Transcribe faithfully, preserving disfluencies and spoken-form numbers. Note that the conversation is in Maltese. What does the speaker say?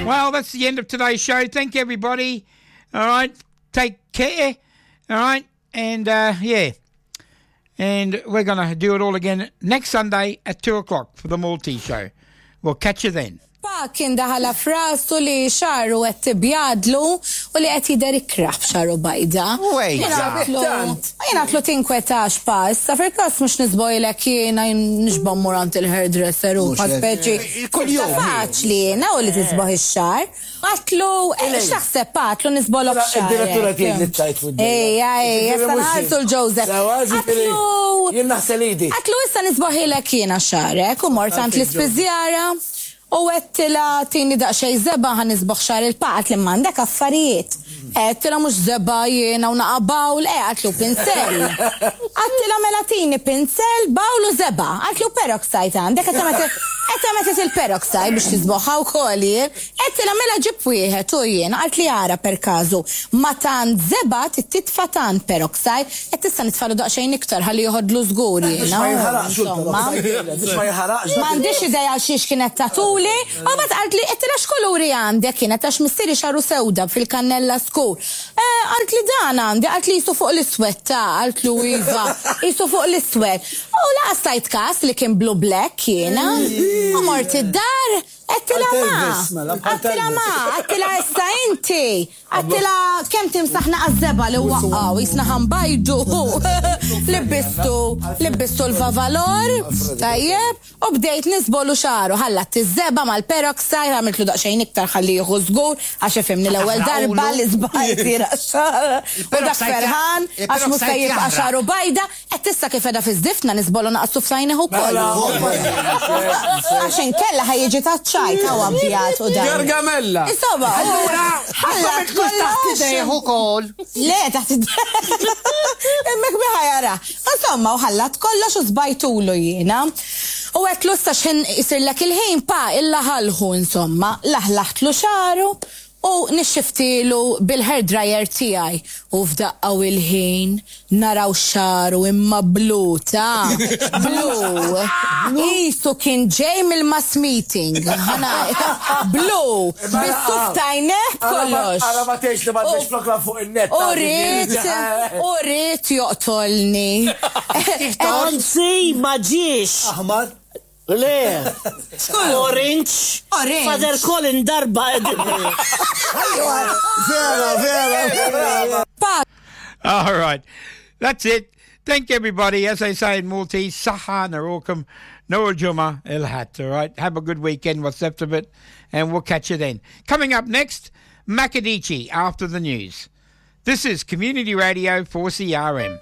Well, that's the end of today's show. Thank you, everybody. All right. Take care. All right. And, uh, yeah. And we're going to do it all again next Sunday at two o'clock for the Maltese show. We'll catch you then. Pa kien daħala f'rasu li xagħru qed tibjadlu u li qed jidher ikrah b'xagħru bajda. Jiena għedtlu tinkwetax pa, issa fil-każ mhux nisbogħlek jiena nixba' mmur għand il-hairdresser u pa speċi. Kuljum. Faċli jiena u li tisbaħ ix-xagħar. Għedtlu, x'taħseb pa, għedtlu nisbogħlok xagħar. Id-direttura tiegħek li tajt fuq. Ejja, ejja, issa nħallsu l-Joseph. Għedtlu. Jien naħsel idi. Għedtlu issa nisbogħlek jiena xagħrek u mort għand l-ispiżjara. U għedtilha tini daqsxejn żebgħa ħa nisbogħ xagħar il-pa, qaltli m'għandek affarijiet. Għedtilha mhux żebgħa jiena u naqa bowl, e għedtlu pinsel. Għedtilha mela tini pinsel, bowl u żebgħa. Għedtlu peroxide għandek, għedt il-peroxide biex tisbogħha u kollox jien. Għedtilha mela ġib wieħed u jiena, qaltli ara per każu. Ma tant żebgħa titfa tant peroxide, qed tista' nitfalu daqsxejn iktar ħalli joħodlu żgur jiena. Biex ma jinħaraqx il-peroxide. Biex ma jinħaraqx. M'għandix idea xiex kienet tatuli. U mbagħad qaltli, għedtilha x'kuluri għandek kienet għax missieri xagħru sewda fil-kannella skur. Qaltli dan għandi, qaltli qisu fuq l-iswed ta' għedtlu iva, qisu fuq l-iswed. U lanqas tajt kas li kien blue black jiena. U mort id-dar, għedtilha ma, għedtilha ma, għedtilha issa inti, għedtilha kemm timsaħna għaż-żebgħa li waqqaw, jisna ħambajdu. Libbistu, libbistu l-vavalor, tajjeb, u bdejt nisbogħlu xagħru, ħallat iż-żebgħa mal-peroxide, għamiltlu daqsxejn iktar ħalli jieħu żgur, għax ifhimni l-ewwel darba li żbajt jira xagħar. U dak ferħan, għax mhux se jibqa' xagħru bajda, qed issa kif qiegħda fiż-żifna nisbogħlu naqsu f'sajneħ ukoll. Għax inkella ħa jiġi taċ-ċajt hawn abjad u dan. Gargamella. Insomma, Allura, ħallat taħt idejh ukoll. Le, taħt idejh. Hemmhekk biħa jara. Insomma, u ħallat kollox u żbajtulu jiena. U għedtlu issa x'ħin isirlek il-ħin pa illa ħalħu insomma, laħlaħtlu xagħru u nixxiftilu bil-hair dryer tiegħi. U f'daqqa u il-ħin naraw xagħru imma blu ta' blu. Qisu kien ġej mill-mass meeting. Ħana, blu. Bis-suf tajneh kollox. Ara ma tgħidx li m'għandekx program fuq in-net. U ried, u ried joqtolni. Anzi, ma ġiex. Aħmar. Le. Orange. Orange. Father Colin darba. Vera, vera, vera. Pa, All right. That's it. Thank you, everybody. As they say in Maltese, Saħħa narawkom nhar il-Ġimgħa il-Ħadd. All right. Have a good weekend, what's left of it, and we'll catch you then. Coming up next, Makadichi after the news. This is Community Radio four C R M.